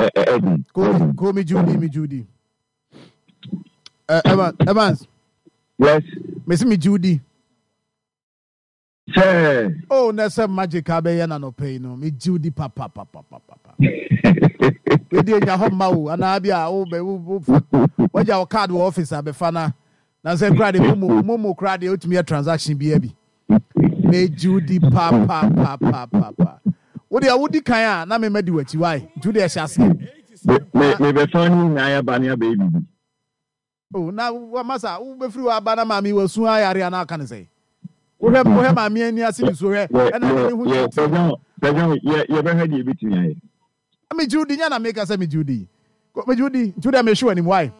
Ɛdi. Ko ko mi Judy, mi Judy. Evans, Evans. Yes. Mesi mi Judy. Sɛ. Oh, na sɛ magic abɛyɛ na nɔpɛ yi no, mi Judy papa papa papa. Wedi enya hɔ mma wo anaa bi a wo bɛ wo wo fa wagya wo card wɔ office abɛfa na na sɛ kura de momo momo kura de otumi yɛ transaction bi abi. Me Judy papa papa papa. Wo deɛ wodi kan a na me ma di w'akyi why? Nti wo deɛ hyɛ aseɛ. Me me bɛfa ne nyinaa yɛ ba ne abɛyɛ biribi. Oh, na masa wobɛfiri hɔ aba na maame wasu ayare anaa aka ne sɛ wohwɛ wohwɛ maame ani ase nsuo hwɛ ɛna ne ho kyerɛ. Yɛbɛhwɛ deɛ ɛbɛtumi ayɛ. Megye wo di nya na meka sɛ megye wo di. Megye wo di nti wo deɛ mehwe w'anim why?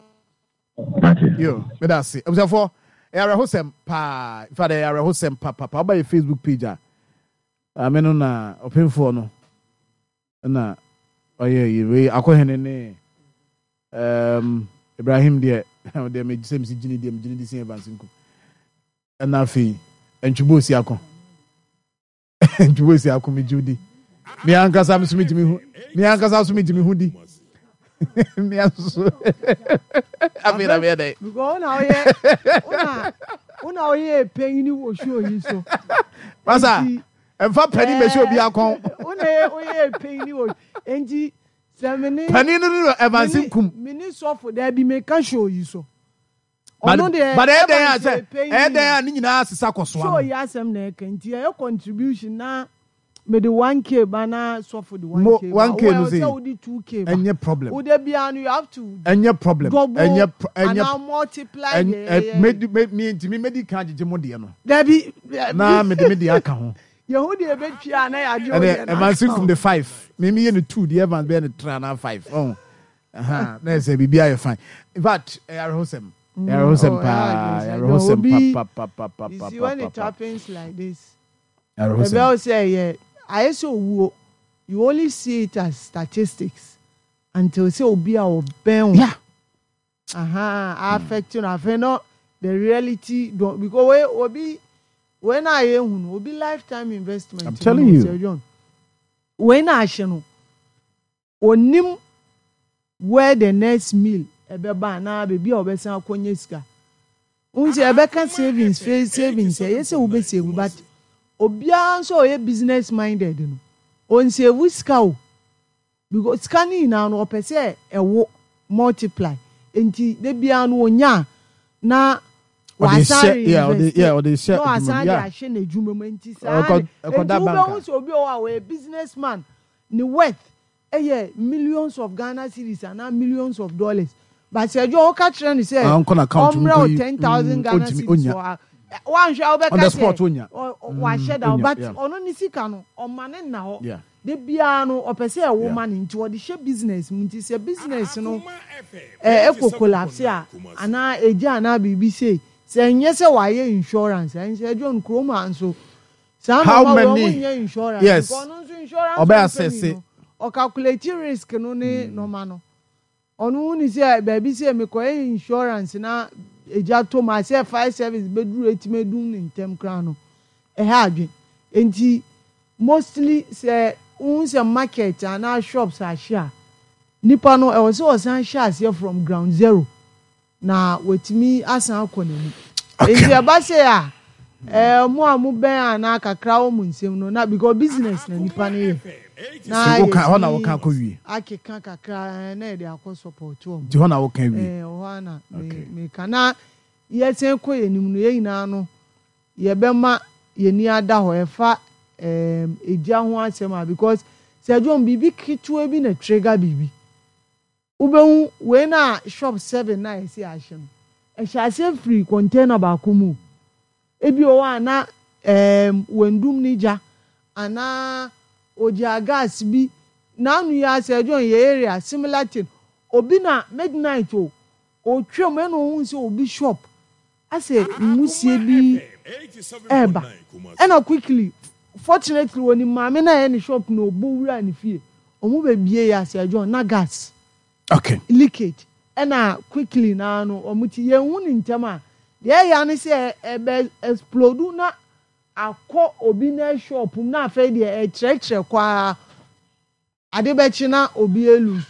Yo, meda ase. Abusuafoɔ, ɛyɛ awerɛhosɛm paa. In fact, ɛyɛ awerɛhosɛm papapa. Woba yɛ Facebook page a, maame no na ɔpemfoɔ no na ɔyɛ yi wei akɔhene ne um, Ibrahim deɛ deɛ me sɛ mesi gyini deɛ megyini de si Evans nku ɛna afei ntwebɔ osi ako ntwebɔ osi ako megye di me ankasa nso metumi hu me ankasa nso metumi hu di me nso afei na meyɛ dɛ. Because una oyɛ una una oyɛ panyin wɔ show yi so. Masa ɛnfa panyin bɛhyɛ obi akɔn. Una oyɛ panyin wɔ nti sɛ mene. Panyin no no Evans Nkum. Mene sɔfo dɛbi meka show yi so. Ɔno deɛ but ɛyɛ dɛn a sɛ ɛyɛ dɛn a ne nyinaa sesa kɔ soa no. Show yi asɛm na ɛka nti ɛyɛ contribution na mede 1K ba na sɔfo de 1K ba. 1K no sɛ wode 2K ba. Ɛnyɛ problem. Wode biara no you have to. Ɛnyɛ problem. Double ɛnyɛ ɛnyɛ anaa multiply deɛ ɛyɛ. Medi me me ntumi medi kan agyegye mo deɛ no. Dabi. Na mede me deɛ aka ho. Yehu deɛ ebetwia na yɛagye wo deɛ na aka ho. Ɛnɛ Evans kum de 5. Me me yɛ no 2 deɛ Evans bɛyɛ no 3 anaa 5. Ɔho. Aha, na ɛsɛ biribi ayɛ fine. In fact, ɛyɛ awerɛhosɛm. Ɛyɛ awerɛhosɛm paa. Ɛyɛ awerɛhosɛm papapapapapa. You see when it happens like this. Awerɛhosɛm. Ɛbɛyɛ sɛ ɛyɛ ayɛ sɛ owuo. You only see it as statistics until sɛ obi a ɔbɛn wo. Yeah. Aha, affect no afei no the reality don because we obi wei na ayɛ hu no obi lifetime investment. I'm telling you. Sir John. Wei na ahye no. Ɔnnim where the next meal ɛbɛba anaa baabi a ɔbɛsan akɔnya sika. Wohu sɛ yɛbɛka savings fei savings ɛyɛ sɛ wobɛ save but obiara nso a ɔyɛ business minded no ɔnsave sika o because sika no nyinaa no ɔpɛ sɛ ɛwo multiply nti da biara no ɔnya a na wasan reinvest na wasan de ahyɛ n'adwuma mu nti saa nti wobɛhu sɛ obi wɔ hɔ a ɔyɛ business man ne worth yɛ millions of Ghana cedis anaa millions of dollars but sɛ ɛdwo woka kyerɛ no sɛ ɔmmrɛ wo 10,000 Ghana cedis wɔ ha woanhwɛ a wobɛka sɛ wahyɛ da but ɔno ne sika no ɔma ne nna hɔ da biara no ɔpɛ sɛ ɛwo ma no nti ɔde hyɛ business mu nti sɛ business no ɛkɔ collapse a anaa ɛgya anaa biribi sei sɛ ɛnyɛ sɛ wayɛ insurance ɛnsɛ ɛdwo no kurom ha nso Saa How nɔɔma wei many ɔmo nyɛ insurance yes because ɔno nso insurance ɔbɛ company asɛse. no ɔcalculate risk no ne nɔɔma no ɔno hu ne sɛ baabi sɛ mekɔyɛ insurance na egya tɔ mu a sɛ fire service bɛduru etumi adum no ntɛm koraa no ɛha adwen nti mostly sɛ wohu sɛ market anaa shops ahye a nipa no ɛwɔ sɛ ɔsan hyɛ aseɛ from ground zero. Na watumi asan akɔ n'anim. Nti ɛba sei a, ɛɛ mo a mobɛn anaa kakra wɔ mo nsam no na because business na nipa no yɛ. Na Nti woka hɔ na woka yɛtumi akɔ wie. akeka kakra ɛɛ na yɛde akɔ support wɔn. Nti hɔ na woka wie. Ɛɛ hɔ ara na me Okay. meka. Na yɛsan kɔ yɛn anim no yɛn nyinaa no yɛbɛma yɛn ani ada hɔ ɛfa ɛɛm egya ho asɛm a because sɛ John biribi ketewa bi na trigger biribi. Wobɛhu wei no a shop 7 no a yɛse yɛahye no, ɛhyɛ aseɛ firi container baako mu o. Ebi wɔ hɔ a na ɛɛm wandum ne gya anaa ɔgyaa gas bi. N'ano yi ara sɛ John yɛ area similar thing. Obi na midnight o, ɔretwam ɛna ɔhuu sɛ obi shop asɛ nwusie bi ɛreba. Ɛna quickly, fortunately ɔnim maame no a ɛyɛ ne shop no ɔbɔ wuraa ne fie. Ɔmo bɛ bie yɛ asɛ John na gas leakage ɛna quickly naa no ɔmo ti yɛn hu ne ntɛm a deɛ ɛya ne sɛ ɛbɛ explode na akɔ obi ne shop mu na afei deɛ ɛkyerɛkyerɛ kɔ ara ade bɛkye na obi elose.